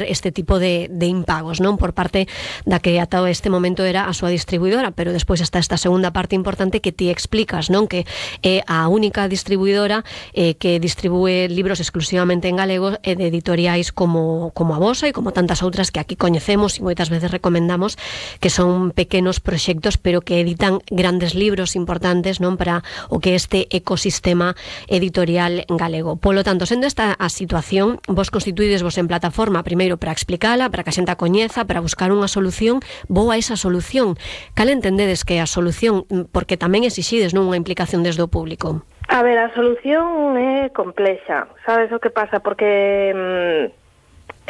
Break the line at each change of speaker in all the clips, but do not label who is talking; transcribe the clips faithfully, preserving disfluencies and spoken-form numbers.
este tipo de, de impagos, non? Por parte da que ata este momento era a súa distribuidora, pero despois está esta segunda parte importante que ti explicas, non? Que é a única distribuidora eh, que distribúe libros exclusivamente en galego e de editoriais como, como a vosa e como tantas outras que aquí coñecemos e moitas veces recomendamos, que son pequenos proxectos pero que editan grandes libros importantes, non? Para o que este ecosistema editorial galego. Polo tanto, sendo esta a situación, vos constituídesvos en plataforma primeiro para explicala, para que a xente a coñeza, para buscar unha solución, boa esa solución. Cal entendedes que é a solución? Porque tamén exixides, non, unha implicación desde o público.
A ver, a solución é complexa, sabes o que pasa? Porque mm,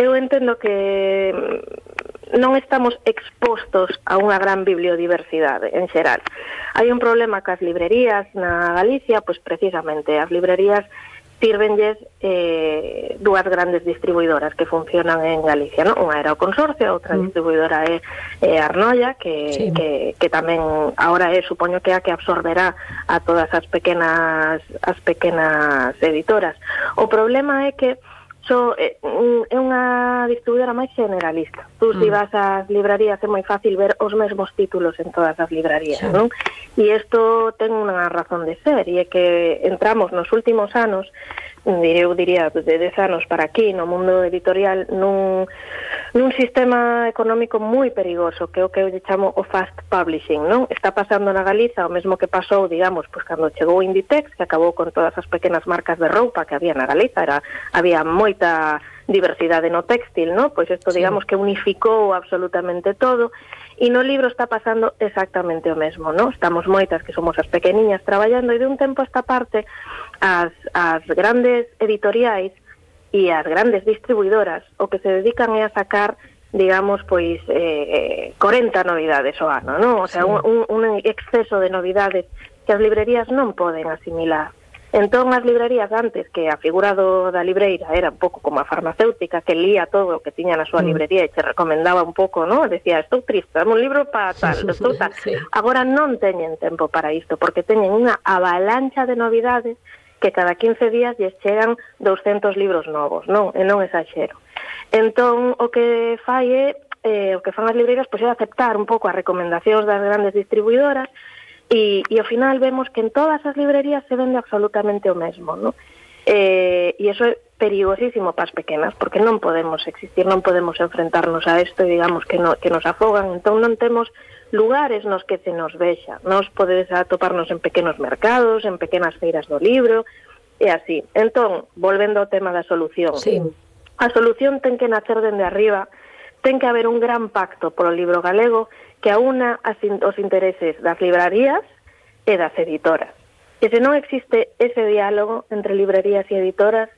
eu entendo que non estamos expostos a unha gran bibliodiversidade en xeral. Hai un problema cas librerías na Galicia, pois precisamente as librerías sirvenlles eh, dúas grandes distribuidoras que funcionan en Galicia, ¿no? Unha era o Consorcio, outra mm. distribuidora é, é Arnoia, que, sí. que, que tamén agora é, supoño que é a que absorberá a todas as pequenas as pequenas editoras. O problema é que so, é unha distribuidora máis generalista. Tú, mm. se vas ás librarías, é moi fácil ver os mesmos títulos en todas as librarías, sí. non? E isto ten unha razón de ser, e é que entramos nos últimos anos, eu diría de dez anos para aquí, no mundo editorial, nun, nun sistema económico moi perigoso, que é o que eu lle chamo o fast publishing, non? Está pasando na Galiza o mesmo que pasou, digamos, pois cando chegou Inditex, que acabou con todas as pequenas marcas de roupa que había na Galiza, era, había moita diversidade no textil, ¿no? Pois isto, digamos, sí. que unificou absolutamente todo, e no libro está pasando exactamente o mesmo, ¿no? Estamos moitas que somos as pequeniñas traballando, e de un tempo a esta parte as, as grandes editoriais e as grandes distribuidoras o que se dedican é a sacar, digamos, pois eh, corenta novidades ao ano, ¿no? O sea, sí. un, un exceso de novidades que as librerías non poden asimilar. Entón, as librerías antes, que a figura do, da libreira era un pouco como a farmacéutica, que lía todo o que tiña na súa librería e te recomendaba un pouco, ¿no? Decía, estou triste, dame un libro para tal, estou tal. Sí. Agora non teñen tempo para isto, porque teñen unha avalancha de novidades que cada quince días lles chegan douscentos libros novos, non? E non exagero. Entón, o que fai é, eh, o que fan as libreiras, pois é aceptar un pouco as recomendacións das grandes distribuidoras. E, e ao final vemos que en todas as librerías se vende absolutamente o mesmo, ¿no? Eh, e iso é perigosísimo para as pequenas, porque non podemos existir, non podemos enfrentarnos a isto e digamos que, no, que nos afogan, entón non temos lugares nos que se nos vexa. Nos podedes atoparnos en pequenos mercados, en pequenas feiras do libro, e así. Entón, volvendo ao tema da solución,
sí.
a solución ten que nacer dende arriba, ten que haber un gran pacto polo libro galego que aúna os intereses das librarías e das editoras. E se non existe ese diálogo entre librerías e editoras,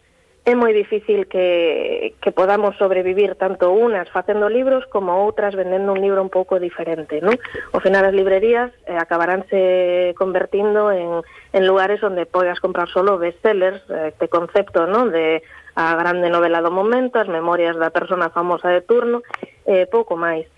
é moi difícil que, que podamos sobrevivir tanto unas facendo libros como outras vendendo un libro un pouco diferente, non? Ao final as librerías eh, acabaránse convertindo en, en lugares onde podas comprar solo bestsellers, eh, este concepto, non? De a grande novela do momento, as memorias da persona famosa de turno, eh, pouco máis.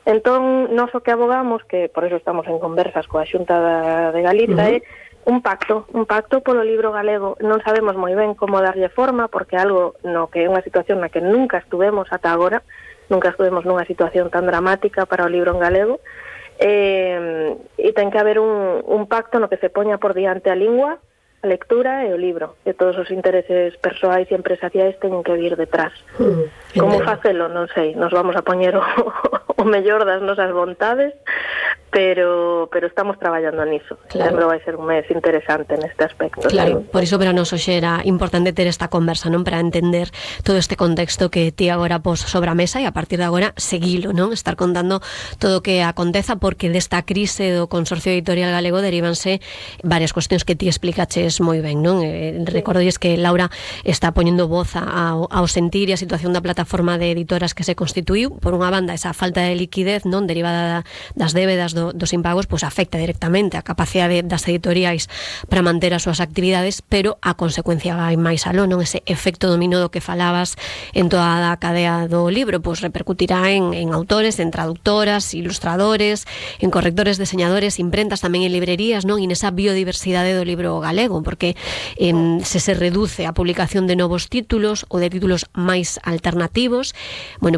Entón, nós o que abogamos, que por eso estamos en conversas coa Xunta da, de Galiza, uh-huh. é un pacto, un pacto polo libro galego. Non sabemos moi ben como darlle forma, porque algo no que é unha situación na que nunca estuvemos ata agora, nunca estuvemos nunha situación tan dramática para o libro en galego, eh, e ten que haber un, un pacto no que se poña por diante a lingua, a lectura e o libro, e todos os intereses persoais e empresariais teñen que vir detrás. Mm, como facelo, non sei, nos vamos a poñer o, o mellor das nosas vontades, pero pero estamos traballando niso. Claro. Sempre vai ser un mes interesante neste aspecto.
Claro,
¿sí?
Por iso para nos hoxe era importante ter esta conversa, non, para entender todo este contexto que ti agora pos sobre a mesa e a partir de agora seguilo, non? Estar contando todo o que aconteza, porque desta crise do Consorcio Editorial Galego derivanse varias cuestións que ti explicaches moi ben, non? Eh, recordolles que Laura está poñendo voz ao, ao sentir e a situación da plataforma de editoras que se constituiu, por unha banda esa falta de liquidez, non, derivada das débedas do do, dos impagos pois afecta directamente a capacidade das editoriais para manter as súas actividades, pero a consecuencia vai máis aló, non? Ese efecto dominó do que falabas en toda a cadea do libro, pois repercutirá en, en autores, en traductoras, ilustradores, en correctores, diseñadores, imprentas, tamén en librerías, non? E nesa biodiversidade do libro galego, porque eh, se se reduce a publicación de novos títulos ou de títulos máis alternativos, bueno,